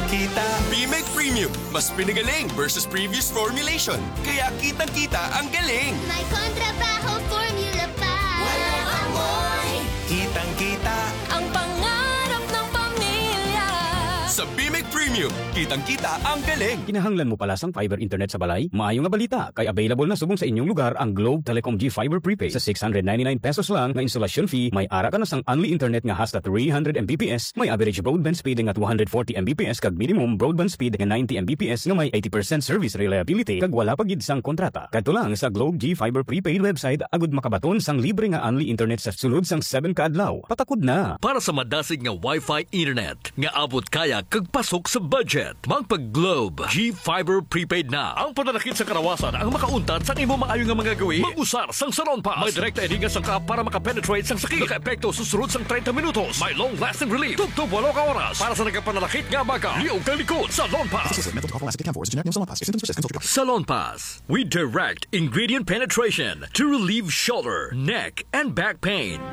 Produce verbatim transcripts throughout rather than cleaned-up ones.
Kita, Bimek Premium, mas pinagaling versus previous formulation. Kaya kitang-kita ang galing. May kontrabaho formula pa. Walang amoy. Kitang-kita. Ang pangarap ng pamilya. Sa Bimek Premium, kitang-kita ang galing. Kinahanglan mo pala sang fiber internet sa balay? Maayo nga balita, kay available na subong sa inyong lugar ang Globe Telecom G Fiber Prepaid. Sa six hundred ninety-nine pesos lang nga installation fee, may ara ka na sang only internet nga hasta three hundred M B P S, may average broadband speed nga two hundred forty M B P S kag minimum broadband speed nga ninety M B P S nga may eighty percent service reliability kag wala pa gid sang kontrata. Kadto lang sa Globe G Fiber Prepaid website agud makabaton sang libre nga only internet sa sulod sang seven ka adlaw. Patakod na! Para sa madasig nga Wi-Fi internet nga abot kaya kag pasok sa budget, magpa-Globe G Fiber Prepaid na. Ang pananakit sa karawasan ang makauntat sang imo maayo nga mga gawi. Mag-usar sang Salon Pass. May direkta ini nga sangkap para maka-penetrate sang sakit. Naka-epekto sa sulod sang treinta minutos. May long-lasting relief. Tubtob walo ka oras. Para sa nagapananakit nga baga, liog kag likod. Salon Pass. Associated with mental health, lactic camphor is a generic name of Salon Pass. If symptoms persist, consult your doctor. Salon Pass. We direct ingredient penetration to relieve shoulder, neck, and back pain.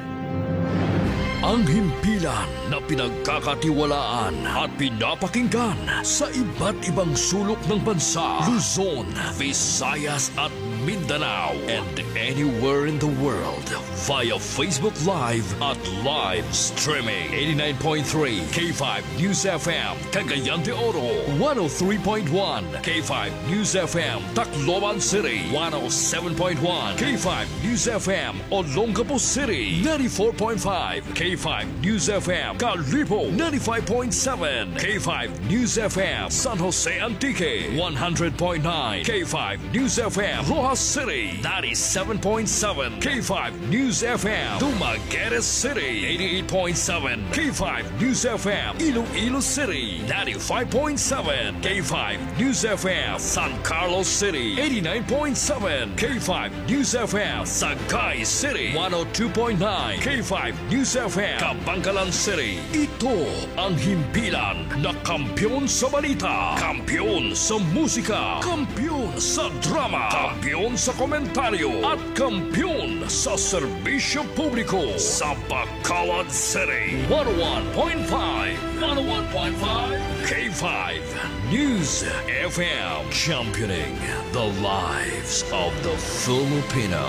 Ang himpilan na pinagkakatiwalaan at pinapakinggan sa iba't ibang sulok ng bansa, Luzon, Visayas, at Mindanao, and anywhere in the world via Facebook Live at live streaming. Eighty-nine point three K five News F M, Cagayan de Oro, one oh three point one K five News F M, Tacloban City, one oh seven point one K five News F M, Olongapo City, ninety-four point five K five News F M, Kalibo, ninety-five point seven K five News F M, San Jose Antique, one hundred point nine K five News F M, Roxas City, ninety-seven point seven K five News F M, Dumaguete City, eighty-eight point seven K five News F M, Iloilo City, ninety-five point seven K five News F M, San Carlos City, eighty-nine point seven K five News F M, Sagay City, one oh two point nine K five News F M, Kabankalan City. Ito ang himpilan na kampiyon sa balita, kampiyon sa musika, kampiyon sa drama, kampiyon sa komentaryo, at kampiyon sa serbisyo publiko sa Bacolod City. One oh one point five, one oh one point five K five News F M, championing the lives of the Filipino.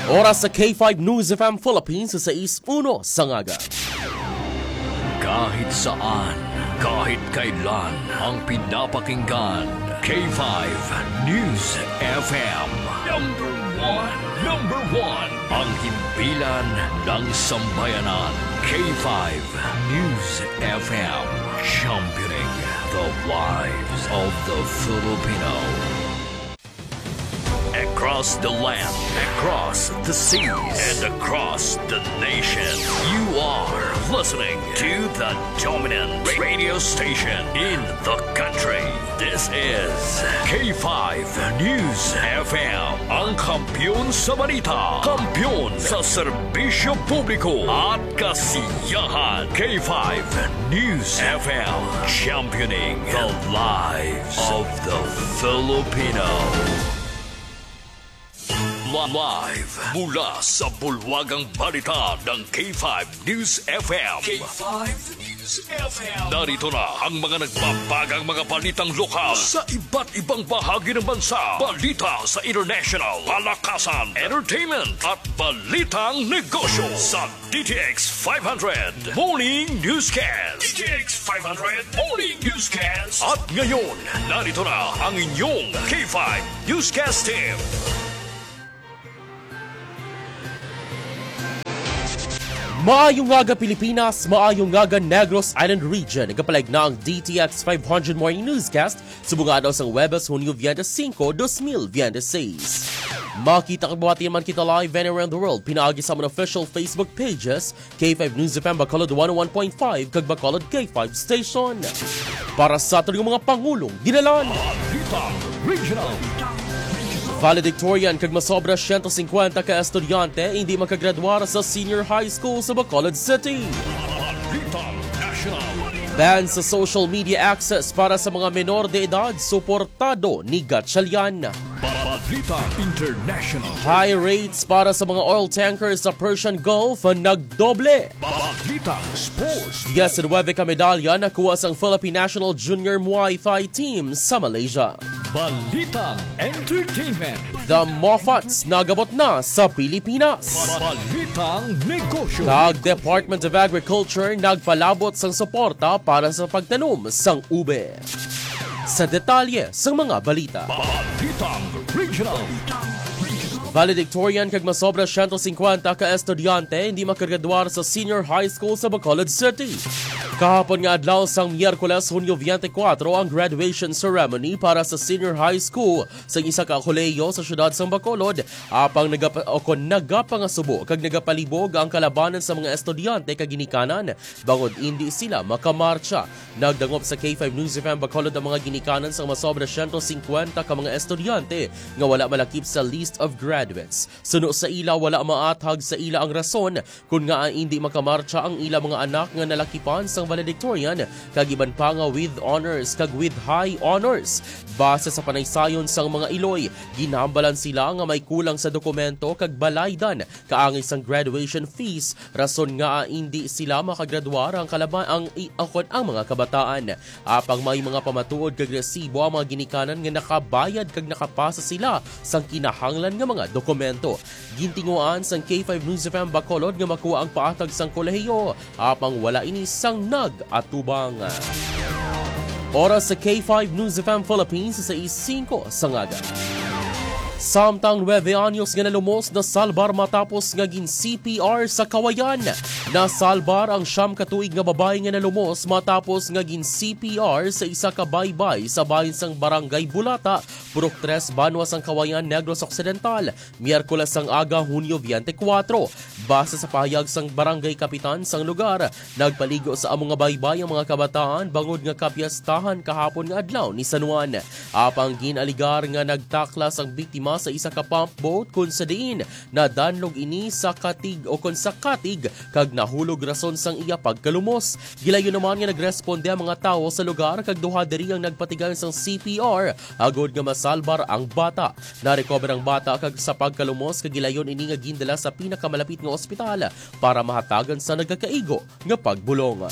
Oras sa K five News F M Philippines sa sais uno sa ngaga. Kahit saan, kahit kailan, ang pinapakinggan, K five News F M. Number one, number one, ang himpilan ng sambayanan, K five News F M, championing the lives of the Filipino. Across the land, across the seas, and across the nation, you are listening to the dominant radio station in the country. This is K five News F M, ang kampiyon sa balita, kampiyon sa serbisyo publiko at kasiyahan. K five News F M, championing the lives of the Filipino. Live mula sa bulwagang balita ng K five News F M. K five News F M. Narito na ang mga nagbabagang mga balitang lokal sa iba't ibang bahagi ng bansa. Balita sa international, palakasan, entertainment, at balitang negosyo sa D T X five hundred Morning Newscast. D T X five hundred Morning Newscast. At ngayon, narito na ang inyong K five Newscast Team. Maayong aga, Pilipinas, maayong aga, Negros Island Region. Nagapalig na ang D T X five hundred Morning Newscast subong nga adlaw sang Huwebes, Hunyo veinte y cinco, dos mil veintiséis. Makita kag mabati man kita live anywhere in the world pinaagi sa amon official Facebook pages, K five News F M Bacolod one oh one point five kag Bacolod K five Station. Para sa aton nga mga pangulong, dinalan. Balitang Regional. Valedictorian kag masobra siyento singkwenta ka estudyante hindi makagradwar sa senior high school sa Bacolod City. Balitang National. Ban sa social media access para sa mga menor de edad, suportado ni Gatchalian. Ba-, Balita International. High rates para sa mga oil tankers sa Persian Gulf ang nagdoble. Balitang Sports. Yes, nuwebe ka medalya nakuha sang Philippine National Junior Muay Thai Team sa Malaysia. Balitang Entertainment. The Moffats nagabot na sa Pilipinas. Balitang Negosyo. Kag Department of Agriculture nagpalabot sang suporta para sa pagtanom sang ube. Sa detalye sang mga balita. Balitang Regional. Valedictorian kag masobra siyento singkwenta ka estudyante hindi makagradwar sa Senior High School sa Bacolod City. Kahapon nga adlaw sang Miyerkules, Hunyo twenty-four, ang graduation ceremony para sa Senior High School sa isa ka kolehiyo sa siyudad sang Bacolod, apang nagapa-, o kon nagapangasubo kag nagapalibog ang kalabanan sa mga estudyante kag ginikanan bangod indi sila makamarcha. Nagdangop sa K five News F M Bacolod ang mga ginikanan sang masobra siyento singkwenta ka mga estudyante nga wala malakip sa list of graduates. Suno sa ila, wala maathag sa ila ang rason kon ngaa indi makamarcha ang ila mga anak nga nalakipan sang valedictorian kag iban pa nga with honors kag with high honors. Base sa panaysayon sang mga iloy, ginhambalan sila nga may kulang sa dokumento kag balaydan kaangay sang graduation fees, rason nga indi sila makagradwar ang kalaban ang i-, ang, ang mga kabataan. Apang may mga pamatuod kag resibo ang mga ginikanan nga nakabayad kag nakapasa sila sang kinahanglan nga mga dokumento. Gintinguhaan sang K five News F M Bacolod nga makuha ang paatag sang kolehiyo, apang wala ini sang nag-atubang. Oras sa K five News F M Philippines, sais singko sang aga. Samtang nuebe anyos nga nalumos nasalbar matapos nga gin C P R sa Kawayan. Nasalbar ang siyam ka tuig nga babayi nga nalumos matapos nga gin C P R sa isa ka baybay sa bahin sang Barangay Bulata, Purok Tres, banwa sang Kawayan, Negros Occidental, Miyerkules sang aga, Hunyo twenty-four. Base sa pahayag sang barangay kapitan sang lugar, nagpaligo sa amo nga baybay ang mga kabataan bangod nga kapiestahan kahapon nga adlaw ni San Juan. Apang gin-alegar nga nagtaklas ang biktima sa isa ka pump boat, kun sa diin nadanlog ini sa katig o kon sa katig kag nahulog rason sang iya pagkalumos. Gilayon naman nga nagresponde ang mga tawo sa lugar kag duha diri ang nagpatigayon sang C P R agod nga masalbar ang bata. Narecover ang bata kag sa pagkalumos kag gilayon ini nga gindala sa pinakamalapit nga ospital para mahatagan sa nagakaigo nga pagbulong.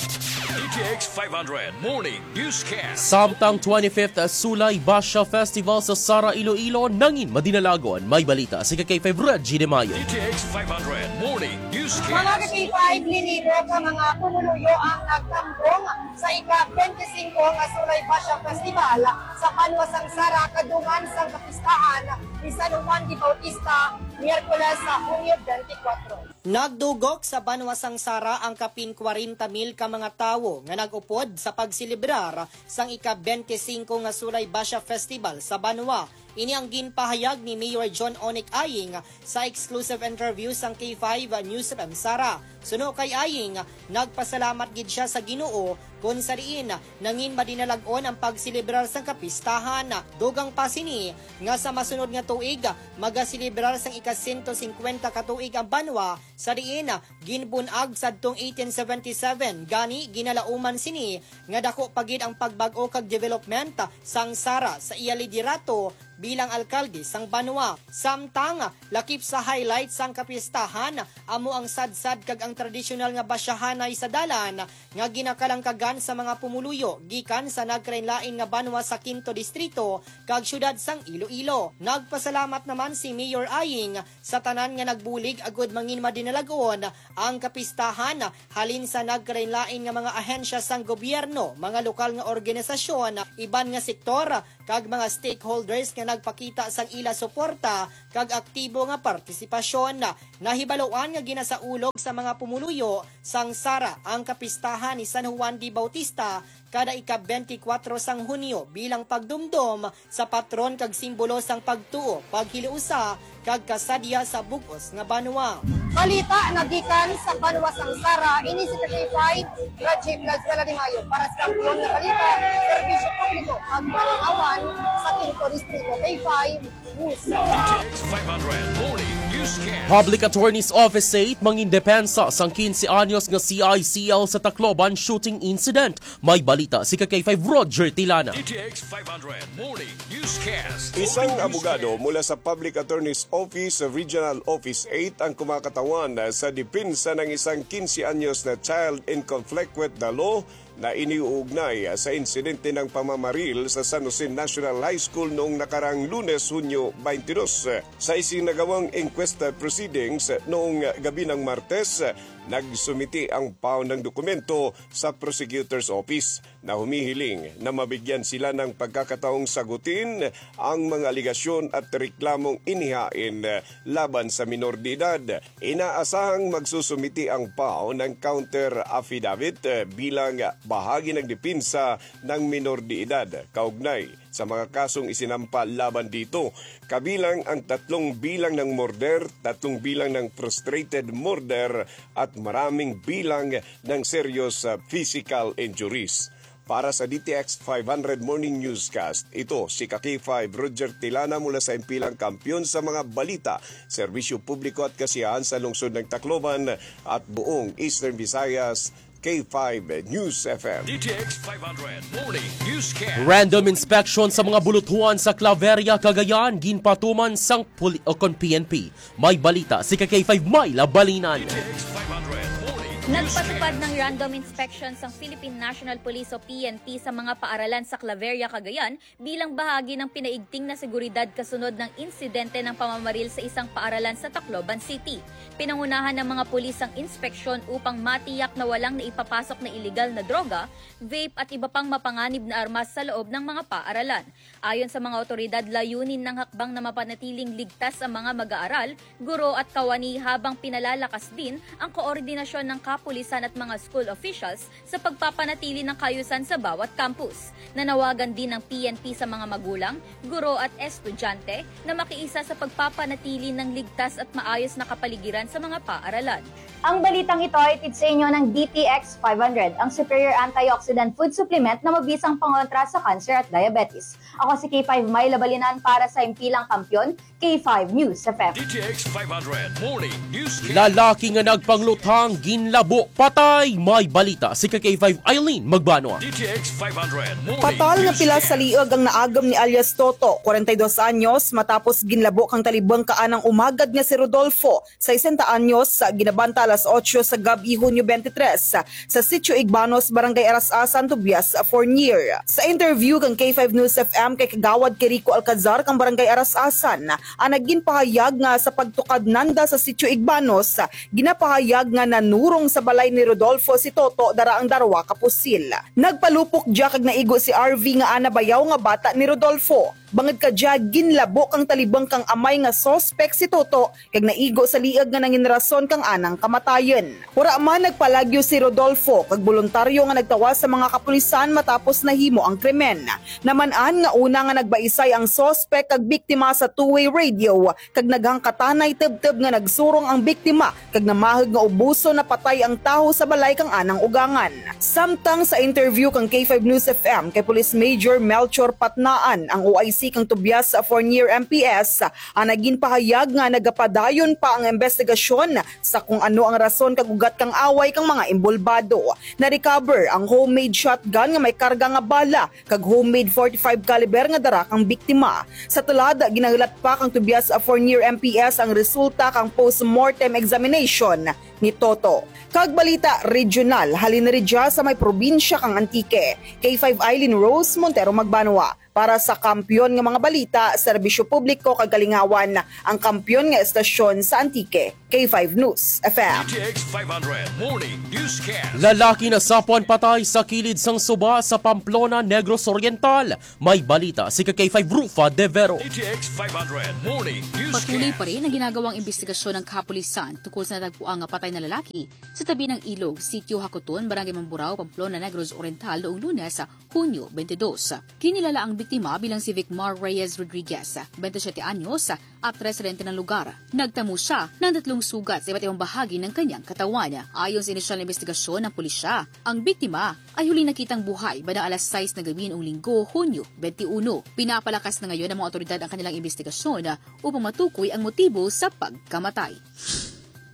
D T X five hundred Morning Newscast. Samtang twenty-fifth Sulay Basha Festival sa Sara, Iloilo, nangin madinalagon. May balita si K five Reggie De Mayo. D T X five hundred Morning Newscast. Mga ka-K five, linibo ka mga pumuluyo ang nagtambong sa ika-twenty-five nga Sulay Basha Festival sa banwa sang Sara, kadungan sang kapistahan ni San Juan de Bautista, Miyerkules sa Hunyo twenty-four. Nagdugok sa banwa sang Sara ang kapin kwarenta mil ka mga tawo nga nag-upod sa pagselebrar sang ika-twenty-five nga Sulay Basha Festival sa banwa. Ini ang ginpahayag ni Mayor John Onic Aying sa exclusive interview sang K five News F M Sara. Suno kay Aying, nagpasalamat gid sia sa Ginoo kon sa diin nangin madinalag-on ang pagselebrar sang kapistahan. Dugang pa sini nga sa masunod nga tuig magaselebrar sang ika-sento singkwenta ka tuig ang banwa, sa diin ginbun-ag sadtong eighteen seventy-seven, gani ginalauman sini nga dako pa gid ang pagbag-o kag development sang Sara sa iya liderato bilang alkalde sang banwa. Samtang lakip sa highlight sang kapistahan amo ang sadsad kag ang tradisyonal nga basyahanay sa dalan nga ginakalangkagan sa mga pumuluyo gikan sa nagkalainlain nga banwa sa Quinto Distrito kag siyudad sang Iloilo. Nagpasalamat naman si Mayor Aying sa tanan nga nagbulig agud mangin madinalag-on ang kapistahan, halin sa nagkalainlain nga mga ahensya sang gobyerno, mga lokal nga organisasyon, iban nga sektor, kag mga stakeholders nga nagpakita sang ila suporta kag aktibo nga partisipasyon. Nahibaluan nga ginasaulog sa mga pumuluyo sang Sara ang kapistahan ni San Juan de Bautista kada ika-twenty-four sang Hunyo bilang pagdumdom sa patron kag simbolo sang pagtuo, paghilusa, kag kasadya sa bug-os nga banwa. Balita nagikan sa banwa sang Sara, ini si K five Rajiv Lazuela de Mayo para sa Kampiyon nga Balita, Serbisyo Publiko, kag Malingawan sa Quinto Distrito, K five News. X five hundred Morning News. Public Attorney's Office eight mangindepensa sang quince anyos nga C I C L sa Tacloban shooting incident. May balita si ka K five Roger Tilana. D T X five hundred Morning Newscast. Isang abogado mula sa Public Attorney's Office Regional Office eight ang kumakatawan sa depensa ng isang quince anyos na child in conflict with the law na iniuugnay sa insidente ng pamamaril sa San Jose National High School noong nakarang Lunes, Hunyo twenty-two. Sa isinagawang inquest proceedings noong gabi ng Martes, nagsumiti ang P A O ng dokumento sa Prosecutor's Office na humihiling na mabigyan sila ng pagkakataong sagutin ang mga alegasyon at reklamong inihain laban sa minor de edad. Inaasahang magsusumiti ang P A O ng counter affidavit, eh, bilang bahagi ng depensa ng minor de edad kaugnay sa mga kasong isinampa laban dito, kabilang ang tatlong bilang ng murder, tatlong bilang ng frustrated murder, at maraming bilang ng serious, ah, physical injuries. Para sa D T X five hundred Morning Newscast, ito si ka K five Roger Tilana mula sa Impilang Kampiyon sa mga balita, serbisyo publiko at kasiyahan sa lungsod ng Tacloban at buong Eastern Visayas, K five News F M. D T X five hundred Morning Newscast. Random inspection sa mga bulutuhan sa Claveria, Cagayan, ginpatuman sang puli-, o kon P N P. May balita si ka K five Myla Balinan. D T X five hundred Morning Newscast. Nagpatupad ng random inspection sang Philippine National Police o P N P sa mga paaralan sa Claveria, Cagayan bilang bahagi ng pinaigting na seguridad kasunod ng insidente ng pamamaril sa isang paaralan sa Tacloban City. Pinangunahan ng mga pulis ang inspeksyon upang matiyak na walang naipapasok na iligal na droga, vape at iba pang mapanganib na armas sa loob ng mga paaralan. Ayon sa mga awtoridad, layunin ng hakbang na mapanatiling ligtas ang mga mag-aaral, guro at kawani habang pinalalakas din ang koordinasyon ng kapulisan at mga school officials sa pagpapanatili ng kaayusan sa bawat campus. Nanawagan din ang P N P sa mga magulang, guro at estudyante na makiisa sa pagpapanatili ng ligtas at maayos na kapaligiran sa mga paaralan. Ang balitang ito ay hatid sa inyo ng D T X five hundred, ang superior antioxidant food supplement na mabisang pangontra sa cancer at diabetes. Ako si K five Myla Balinan para sa Impilang Kampiyon, K five News F M. D T X five hundred Morning Newscast. Lalaki nga nagpangluthang ginlabo patay. May balita si ka K five Eileen Magbanwa. D T X five hundred Morning Patal nga pila sa Newscast. Liog ang naagom ni alias Toto, forty-two anyos, matapos ginlabo kang talibong ka anang umagad nga si Rodolfo, sesenta anyos, sa ginabanta alas otso sa gab-i, Hunyo twenty-three, sa Sitio Igbanos, Barangay Aras-asan, Tobias, Fornier. Sa interview kang K five News F M kay Kagawad Kirico Alcazar kang Barangay Aras-asan, ang nagin pahayag nga sa pagtukad nanda sa Sitio Igbanos, ginapahayag nga nanurong sa balay ni Rodolfo si Toto dara ang darwa ka pusil. Nagpalupok dya kag naigo si R V nga ana bayaw nga bata ni Rodolfo. Bangod ka dya, ginlabo kang talibong kang amay nga suspek si Toto kag naigo sa liog nga nangin rason kang anang kamatayon. Wara man nagpalagyo si Rodolfo kag boluntaryo nga nagtawas sa mga kapulisan matapos nahimo ang krimen. Naman-an nga una nga nagbaisay ang suspek kag biktima sa two-way radio kag naghangkatanay tubtob nga nagsurong ang biktima kag namahog nga ubuson napatay ang tawo sa balay kang anang ugangan. Samtang sa interview kang K five News F M kay Police Major Melchor Patnaan, ang O I C kang Tobias Fornier M P S, ang nagin pahayag nga nagapadayon pa ang investigasyon sa kung ano ang rason kag ugat kang away kang mga inbolbado. Na-recover ang homemade shotgun nga may karga nga bala kag homemade forty-five caliber nga dara kang biktima. Sa tulad, ginahulat pa kang Tobias Fornier M P S ang resulta kang postmortem examination ni Toto. Kag balita regional, halin ridya sa may probinsya kang Antique. K five Eileen Rose Montero Magbanwa para sa Kampiyon nga mga balita, serbisyo publiko kag kalingawan, ang kampiyon nga estasyon sa Antique. K five News F M. D T X five hundred Morning Newscast. Lalaki nasapuan patay sa kilid sang suba sa Pamplona, Negros Oriental. May balita si ka K five Rufa De Vero. D T X five hundred Morning Newscast. Patuloy pa rin ang ginagawang imbestigasyon ng kapulisan tungkol sa natagpuan nga patay na lalaki sa tabi ng ilog, Sitio Hakuton, Barangay Mamburao, Pamplona, Negros Oriental, noong Lunes, Hunyo twenty-dos. Kinilala ang biktima bilang si Vicmar Reyes Rodriguez, twenty-siyete anyos, at residente ng lugar. Nagtamo siya ng tatlong sugat sa iba't ibang bahagi ng kanyang katawan. Ayon sa inisyal na investigasyon ng pulisya, ang biktima ay huling nakitang buhay bandang alas sais ng gabi noong Linggo, Hunyo twenty-one. Pinapalakas na ngayon ng mga otoridad ang kanilang investigasyon upang matukoy ang motibo sa pagkamatay.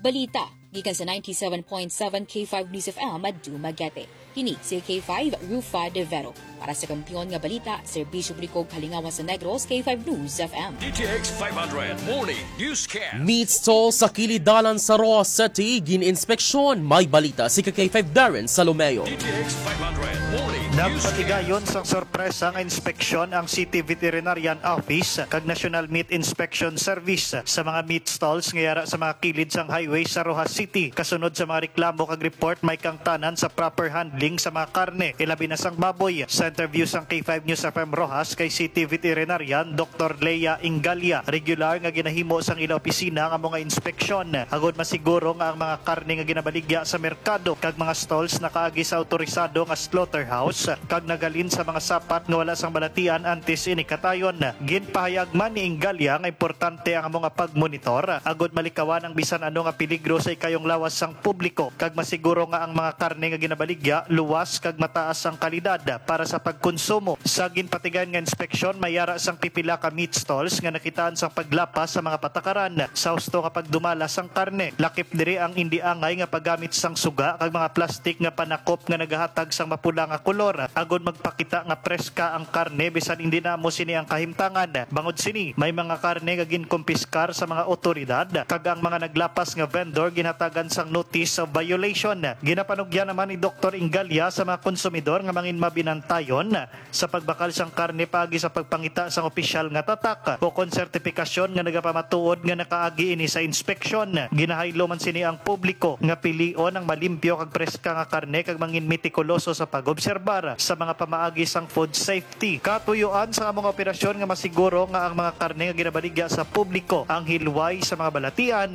Balita gikan sa ninety-seven point seven K five News F M at Dumaguete. Kini si K five Rufa De Vero. Para sa kampiyon nga balita, serbisyo publiko, kalingawan sa Negros, K five News F M. D T X five hundred Morning Newscast. Meat stall sa kilid dalan sa Roxas City, gin-inspeksyon. May balita si K five Darren Salomeo. D T X five hundred Morning Newscast. Nagpatigayon sang sorpresa nga inspeksyon ang City Veterinarian Office kag National Meat Inspection Service sa mga meat stalls nga yara sa mga kilid sang highway sa Roxas City. Kasunod sa mga reklamo kag report, may kangtanan sa proper handling sa mga karne, ilabi na sang baboy. Sa interview sang K five News F M Roxas kay City Veterinarian Doktor Leia Ingalia, regular nga ginahimo sang ila opisina ang amo nga inspeksyon, agod masiguro nga ang mga karne nga ginabaligya sa merkado kag mga stalls nakaagi sa autorisado nga slaughterhouse kag nagalin sa mga sapat nga wala sang balatian antes ini katayon. Ginpahayag man ni Ingalia nga importante ang amo nga pagmonitor agod malikawan ang bisan ano nga peligro sa ikayong lawas sang publiko kag masiguro nga ang mga karne nga ginabaligya luwas kag mataas ang kalidad para sa pagkonsumo. Sa ginpatigayon nga inspeksyon, may yara sang pipila ka meat stalls nga nakitaan sang paglapas sa mga patakaran sa husto nga pagdumala sang karne. Lakip diri ang indi angay nga paggamit sang suga kag mga plastik nga panakop nga nagahatag sang mapula nga kolor, agod magpakita nga preska ang karne bisan indi na amo sini ang kahimtangan. Bangod sini, may mga karne nga ginkumpiskar sa mga otoridad, kag ang mga naglapas nga vendor ginhatagan sang notice of violation. Ginapanugyan naman ni Doktor Ingalia sa mga konsumidor nga mangin mabinantayon sa pagbakal sang karne paagi sa pagpangita sang opisyal nga tatak ukon sertipikasyon nga nagapamatuod nga nakaagi ini sa inspeksyon. Ginahaylo man sini ang publiko nga pilion ang malimpyo kag preska nga karne kag mangin metikuloso sa pag-obserbar sa mga pamaagi sang food safety. Katuyoan sa among operasyon nga masiguro nga ang mga karne nga ginabaligya sa publiko ang hilway sa mga balatian,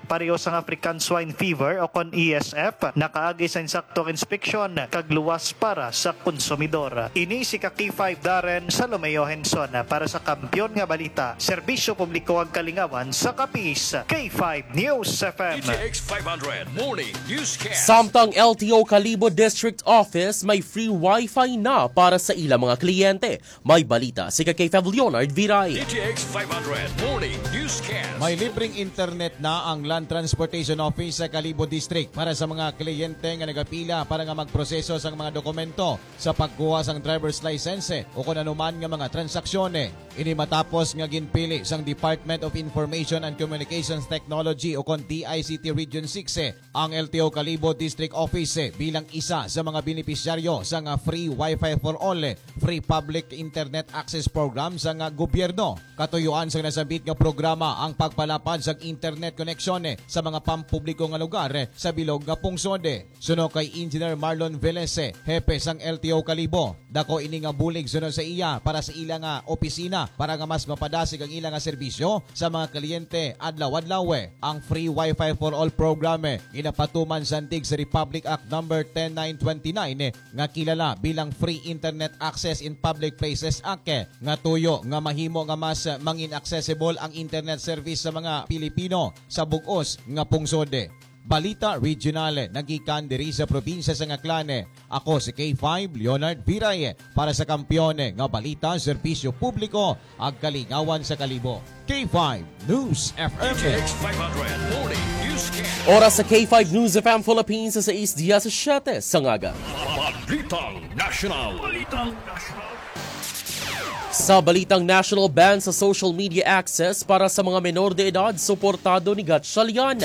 pareho sang African Swine Fever o kon E S F, nakaagi sa insaktong inspeksyon kag luwas para sa konsumidor. Ini si ka K five Darren Salomeo Henson para sa Kampiyon nga Balita, Serbisyo Publiko ug Kalingawan sa Capiz, K five News F M. D T X five hundred Morning Newscast. Samtang L T O Kalibo District Office may free wifi na para sa ilang mga kliyente. May balita si ka K five Leonard Viray. D T X five hundred Morning Newscast. May libreng internet na ang Land Transportation Office sa Kalibo District para sa mga kliyente nga nagapila para nga magproseso sang mga dokumento sa pagkuha sang driver's license o kon anuman nga mga transaksyon. Ini matapos nga ginpili sang Department of Information and Communications Technology o kon D I C T Region six ang L T O Kalibo District Office bilang isa sa mga benepisyaryo sang Free Wi-Fi for All, Free Public Internet Access Program sang gobyerno. Katuyoan sang nasambit nga programa ang pagpalapad sang internet koneksyon sa mga pampubliko nga lugar sa bilog nga pungsod. Suno kay Engineer Marlon Velez, hepe sang L T O Kalibo, dako ini nga bulig suno sa iya para sa ila nga opisina para nga mas mapadasig ang ila nga serbisyo sa mga kliyente adlaw-adlaw. Ang Free Wi-Fi for All program ginapatuman sandig sa Republic Act Number ten nine twenty-nine nga kilala bilang Free Internet Access in Public Places Act, nga tuyo nga mahimo nga mas mangin accessible ang internet service sa mga Pilipino sa bug-os nga pungsod. Balita Regional, nagikan diri sa probinsya sang Aklan. Ako si K five Leonard Viray para sa Kampiyon nga Balita, Serbisyo Publiko, ug Kalingawan sa Kalibo. K five News F M. D T X five hundred Morning Newscast. Oras sa K five News F M Philippines sa sais diecisiete sa aga. Balitang National. Balitang National. Sa balitang national, ban sa social media access para sa mga menor de edad, suportado ni Gatchalian.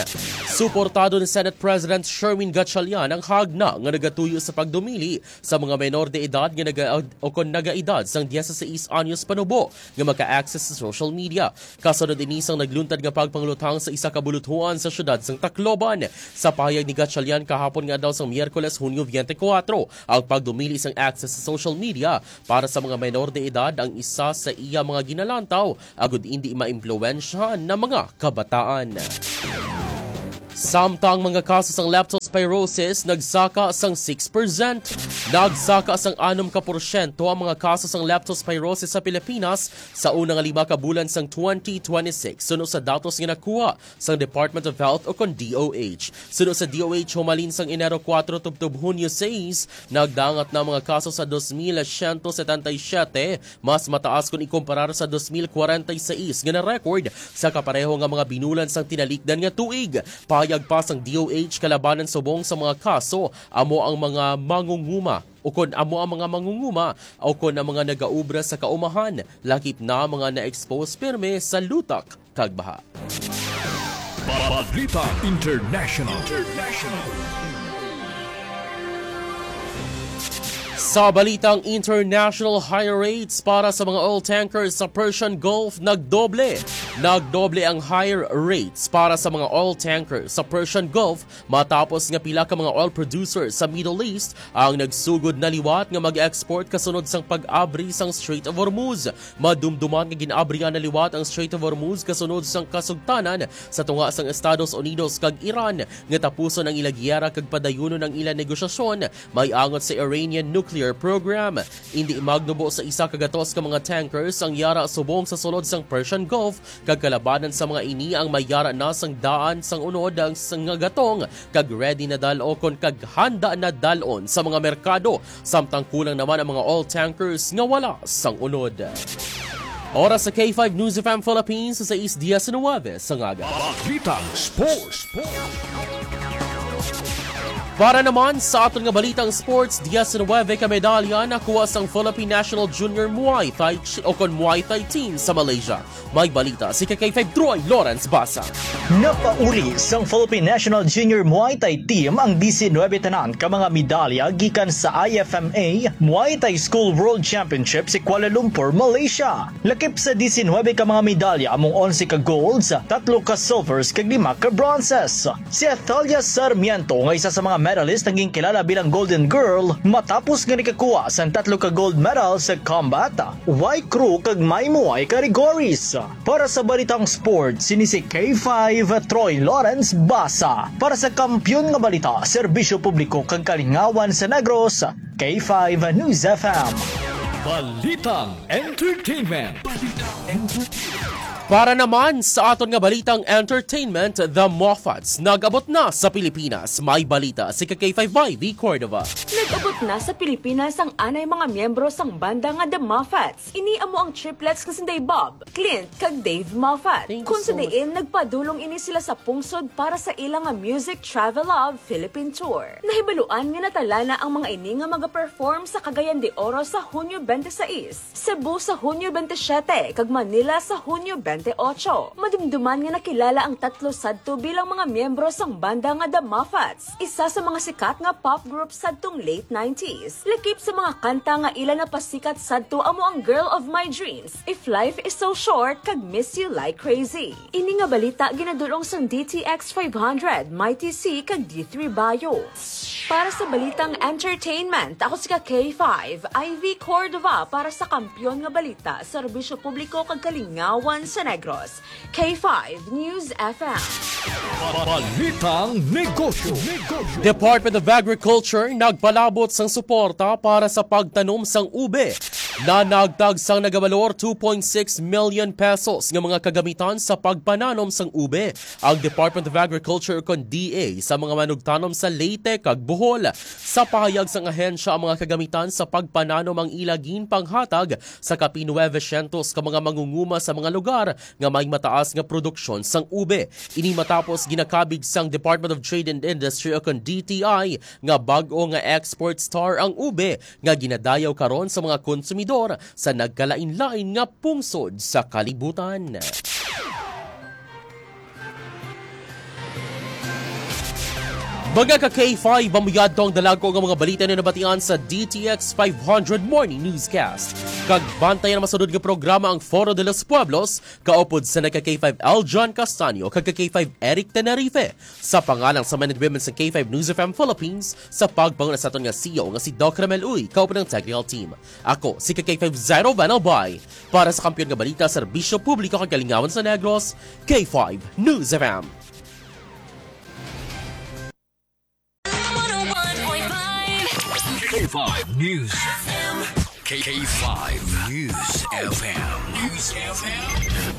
Suportado ni Senate President Sherwin Gatchalian ang hagna nga nagatuyo sa pagdumili sa mga menor de edad nga naga-, o kon nagaedad sang dieciséis anyos panubo nga maka-access sa social media. Kasunod ini sang nagluntad nga pagpangluthang sa isa ka buluthuan sa siyudad sang Tacloban. Sa pahayag ni Gatchalian kahapon nga adlaw sang Miyerkules, Hunyo twenty-four, ang pagdumili sang access sa social media para sa mga menor de edad ang isa sa iya mga ginalantaw agud indi maimpluwensyahan na mga kabataan. Samtang mga kaso sang leptospirosis nagsaka sang six percent. Nagsaka sang anom ka porsyento ang mga kaso sang leptospirosis sa Pilipinas sa una nga lima ka bulan sang twenty twenty-six, suno sa datos nga nakuha sang Department of Health o kon D O H. Suno sa D O H, humalin sang Enero kuwatro tubtob Hunyo sais, nagdangat na ang mga kaso sa dos mil siyento setenta y siyete, mas mataas kon ikumparar sa dos mil kwarenta y sais nga na-record sa kapareho nga mga binulan sang tinalikdan nga tuig. Pahayag pa sang D O H, kalabanan subong sa mga kaso, amo ang mga mangunguma, o kon amo ang mga mangunguma, o kon ang mga nagaobra sa kaumahan, lakip na mga na-expose pirme sa lutak kag baha. Balita International. Sa balitang international, higher rates para sa mga oil tankers sa Persian Gulf nagdoble. Nagdoble ang higher rates para sa mga oil tankers sa Persian Gulf matapos nga pila ka mga oil producers sa Middle East ang nagsugod na liwat nga mag-export kasunod sang pag-abri sang Strait of Hormuz. Madumduman nga gin-abrihan na liwat ang Strait of Hormuz kasunod sang kasugtanan sa tunga sang Estados Unidos kag Iran nga tapuson ang ila giyera kag padayunon ang ila negosyasyon, may angot sa Iranian nuclear program. Indi magnubo sa isa ka gatos ka mga tankers ang yara subong sa sulod sang Persian Gulf, kag kalabanan sa mga ini ang may yara na sang daan sang unod ang s-, nga gatong, kag ready na dal-o kon kag handa na dal-on sa mga merkado, samtang kulang naman ang mga oil tankers nga wala sang unod. Oras sa K five News F M Philippines sa sais diecinuebe sa ngaga. Balitang Sports. Para naman sa aton nga balitang sports, diecinuebe ka medalya nakuha sang Philippine National Junior Muay Thai Chi-, o kon Muay Thai Team sa Malaysia. May balita si K K five Troy Lawrence Basa. Napauli sang Philippine National Junior Muay Thai Team ang diecinuebe tanan ka mga medalya gikan sa I F M A Muay Thai School World Championship sa Kuala Lumpur, Malaysia. Lakip sa diecinuebe ka mga medalya, among onse ka golds, tatlo ka silvers, kag lima ka bronzes. Si Athalia Sarmiento, nga isa sa mga medalist, ang ginkilala bilang Golden Girl matapos nga nikakuha sang tatlo ka gold medal sa combat, Y Crew, kag Muay Muay categories. Para sa balitang sports, sini si K five Troy Lawrence Basa. Para sa Kampiyon nga Balita, Serbisyo Publiko kag Kalingawan sa Negros, K five News F M. Balitang Entertainment. Para naman sa aton nga balitang entertainment, The Moffats nag-abot na sa Pilipinas. May balita si K K five Y V Cordova. Nag-abot na sa Pilipinas ang anay mga miyembro sang banda nga The Moffats. Ini amo ang triplets nga sinday Bob, Clint, kag Dave Moffat. Thank you so much. Kun sa diin, nagpadulong ini sila sa pungsod para sa ila nga Music Travel Love Philippine Tour. Nahibaluan nga natala na ang mga ini nga magaperform sa Cagayan de Oro sa Hunyo twenty-six, Cebu sa Hunyo twenty-seven, kag Manila sa Hunyo twenty-eight. Madumduman nga nakilala ang tatlo sadto bilang mga miyembro sang banda nga The Moffats, isa sa mga sikat nga pop group sadtong late nineties. Lakip sa mga kanta nga ila napasikat sadto amo ang Girl of My Dreams, If Life Is So Short, kag Miss You Like Crazy. Ini nga balita ginadul-ong sang D T X five hundred, Mighty C, kag D three Bio. Para sa balitang entertainment, ako si ka K five, Ivy Cordova, para sa Kampiyon nga Balita, Serbisyo Publiko kag Kalingawan sa Negros. K five News F M. Balitang Negosyo. Department of Agriculture nagpalabot sang suporta para sa pagtanom sang ube na nagtag sang nagabalor two point six million pesos nga mga kagamitan sa pagpananom sang ube. Ang Department of Agriculture, kon D A, sa mga manugtanom sa Leyte kag Bohol. Sa pahayag sang ahensya, ang mga kagamitan sa pagpananom ang ila ginpanghatag sa kapin nuwebe syentos ka mga mangunguma sa mga lugar nga may mataas nga produksyon sang ube. Ini matapos ginakabig sang Department of Trade and Industry o kon D T I nga bag-o nga export star ang ube nga ginadayaw karon sa mga konsumidor sa nagkalain-lain nga pungsod sa kalibutan. Mga ka K five, amo yadto ang dalagko nga mga balita na nabatian sa D T X five hundred Morning Newscast. Kag bantayan ang masunod nga programa, ang Foro de los Pueblos, kaupod sa nagka K five Aljon Castaño kag ka K five Eric Tenerife. Sa pangalan sa men and women sa K five News F M Philippines, sa pagpanguna sa aton nga C E O nga si Doc Ramel Uy, kaupod ang technical team. Ako si ka K five Zairo Van Albay. Para sa Kampiyon nga Balita, Serbisyo Publiko kag Kalingawan sa Negros, K five News F M. five News F M. K five News F M. News F M.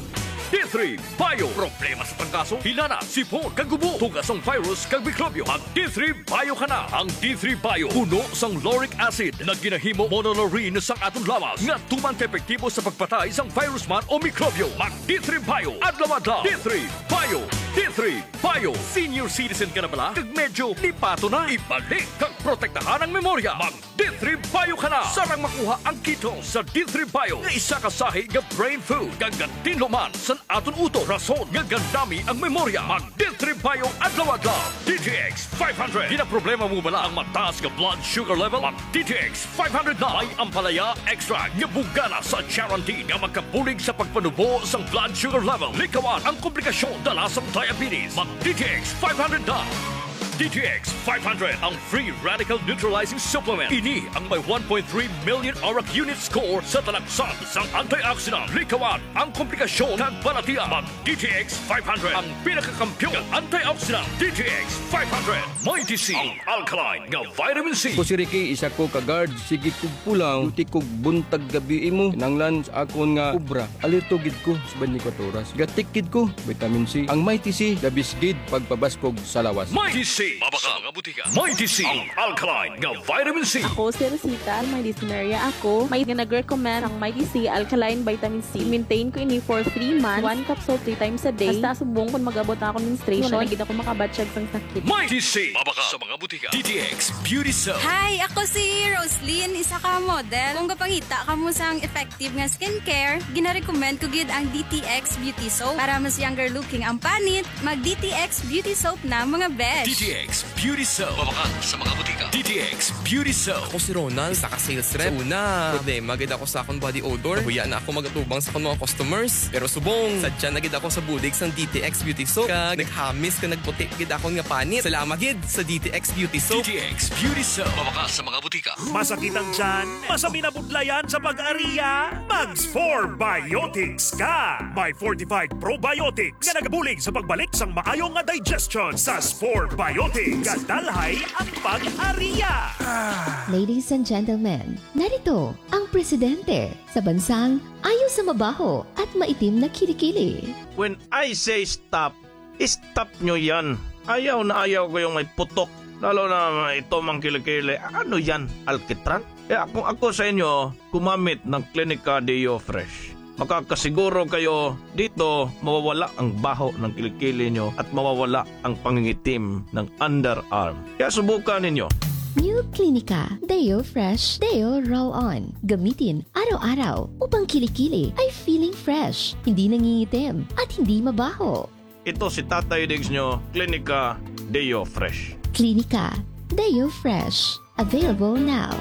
D three Bio. Problema sa trangkaso, hilanat, sipon, kag ubo, tuga sang virus kag mikrobyo. Mag D three Bio ka na. Ang D three Bio puno sang lauric acid nga ginahimo monolaurin sang aton lawas nga tuman ka epektibo sa pagpatay sang virus man o mikrobyo. Mag D three Bio adlaw-adlaw. D three Bio. D three Bio. Senior citizen ka na bala? Kag medyo lipaton na? Ibalik kag protektahan ang memorya. Mag D three Bio ka na. Sarang makuha ang ketone sa D three Bio nga isa ka sahi nga brain food kag gatinlo man sa aton utok, rason nga gandami ang memorya. Mag D three Bio adlaw-adlaw. D T X five hundred. Ginaproblema mo bala ang mataas nga blood sugar level? Mag D T X five hundred na. May ampalaya extract nga bugana sa charantin nga makabulig sa pagpanubo sang blood sugar level. Likawan ang komplikasyon dala sang diabetes. Mag D T X five hundred na. D T X five hundred, ang free radical neutralizing supplement. Ini ang may one point three million arak unit score sa talaksan sang antioxidant. Likawan ang komplikasyon kag balatian. Mag D T X five hundred, ang pinakakampiyon nga antioxidant. D T X five hundred, Mighty C, ang alkaline nga vitamin C. Ako si Ricky, isa ko ka guard. Sige kog pulaw, duty kog buntag gabi imo. Kinahanglan sa akon nga obra. Alerto gid ko sa twenty-four oras. Gatik gid ko, vitamin C. Ang Mighty C, the best gid pagpabaskog sa lawas. Mighty C, mabakal sa mga butika. Mighty C, ang alkaline nga vitamin C. Ako si Rosita, may dysmenorrhea ako. May nga nag-recommend ang Mighty C alkaline vitamin C. Maintain ko ini for three months. One capsule three times a day. Hasta subong kung mag-abot na akong menstruation. Wala na gid ako makabatyag sang sakit. Mighty C, mabakal sa mga butika. D T X Beauty Soap. Hi, ako si Roslyn, isa ka model. Kung gapangita kamo sang effective nga skincare, ginarecommend ko gid ang D T X Beauty Soap. Para mas younger looking ang panit, mag D T X Beauty Soap na, mga besh. D T X Beauty Soap. Mabakal sa mga butika. D T X Beauty Soap. Ako si Ronald, isa ka sales rep. Sa una, problema gid ako sa akong body odor. Nahuya na ako magatubang sa akong mga customers. Pero subong, sadya na gid ako sa bulig sang D T X Beauty Soap. Kag naghamis ka nagputi gid akon nga panit. Salamat gid sa D T X Beauty Soap. D T X Beauty Soap. Mabakal sa mga butika. Masakit ang tiyan? Masami na budlayan sa pag-ariya? Mag Spore Biotics ka! May fortified probiotics nga nagabulig sa pagbalik sang maayo nga digestion. Sa Spore Biotics, gadalhay ang pag-ariya. Ladies and gentlemen, narito ang presidente sa bansang ayo sa mabaho at maitim na kilikili. When I say stop, stop nyo yan. Ayaw na ayaw ko yung may putok. Lalo na ito mang kilikili. Ano yan? Alkitran? Kaya kung ako sa inyo, gumamit ng Clinica Deo Fresh. Makakasiguro kayo dito mawawala ang baho ng kilikili nyo at mawawala ang pangingitim ng underarm. Kaya subukan ninyo. New Clinica Deo Fresh Deo Roll On. Gamitin araw-araw upang kilikili ay feeling fresh, hindi nangingitim, at hindi mabaho. Ito si Tatay Diggs nyo, Clinica Deo Fresh. Clinica Deo Fresh. Available now.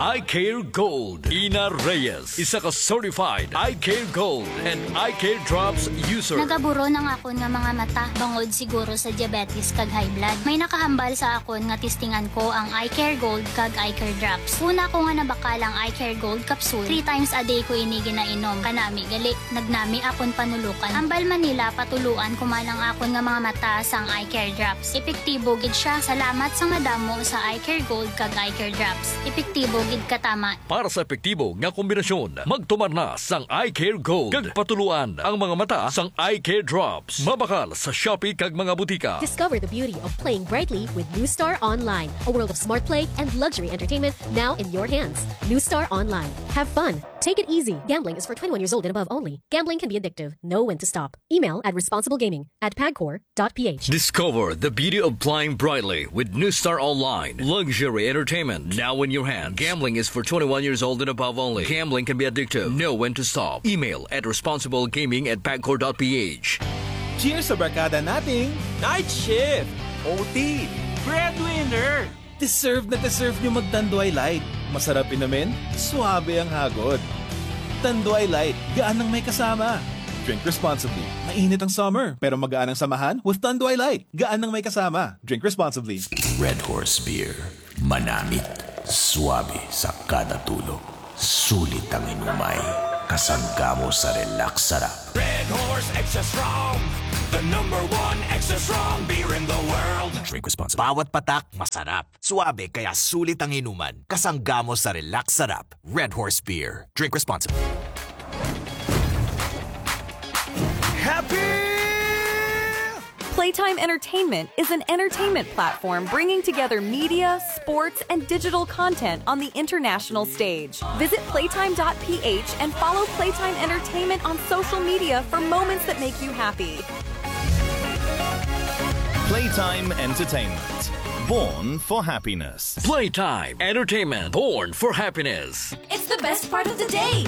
Eye Care Gold. Ina Reyes, isa ka certified Eye Care Gold and Eye Care Drops user. Nagaburon ang akon nga mga mata bangod siguro sa diabetes kag high blood. May nakahambal sa akon nga testingan ko ang Eye Care Gold kag Eye Care Drops. Una ko nga nabakal ang Eye Care Gold capsule. Three times a day ko ini ginainom. Kanami gali, nagnami akon panulukan. Hambal man nila patuluan ko man ang akon nga mga mata sang Eye Care Drops. Epektibo gid siya. Salamat sa madamo sa Eye Care Gold kag Eye Care Drops. Epektibo gid katama. Para sa epektibo nga kombinasyon, magtumar na sang Eye Care Gold kag patuluan ang mga mata sang Eye Care Drops. Mabakal sa Shopee kag mga butika. Discover the beauty of playing brightly with New Star Online, a world of smart play and luxury entertainment now in your hands. New Star Online. Have fun. Take it easy. Gambling is for twenty-one years old and above only. Gambling can be addictive. Know when to stop. Email at responsiblegaming at pagcor dot ph. Discover the beauty of playing brightly with New Star Online. Luxury entertainment now in your hand. Gambling is for twenty-one years old and above only. Gambling can be addictive. Know when to stop. Email at responsiblegaming at pagcor dot ph. Cheers sa barkada nating night shift, O T, breadwinner. Deserve na deserve nyo mag-Tanduay Light. Masarap inumin, suabe ang hagod. Tanduay Light, gaan ang may kasama. Drink responsibly. Mainit ang summer, pero magaan ang samahan with Tanduay Light. Gaan ang may kasama. Drink responsibly. Red Horse Beer. Manamit. Suabe sa kada tulo. Sulit ang inumay. Kasangga mo sa Relax Sarap. Red Horse Extra Strong, the number one extra strong beer in the world. Drink responsibly. Bawat patak masarap, suabe kaya sulit ang inuman. Kasangga mo sa Relax Sarap. Red Horse Beer. Drink responsibly. Happy! Playtime Entertainment is an entertainment platform bringing together media, sports, and digital content on the international stage. Visit playtime dot p h and follow Playtime Entertainment on social media for moments that make you happy. Playtime Entertainment. Born for happiness. Playtime Entertainment. Born for happiness. It's the best part of the day.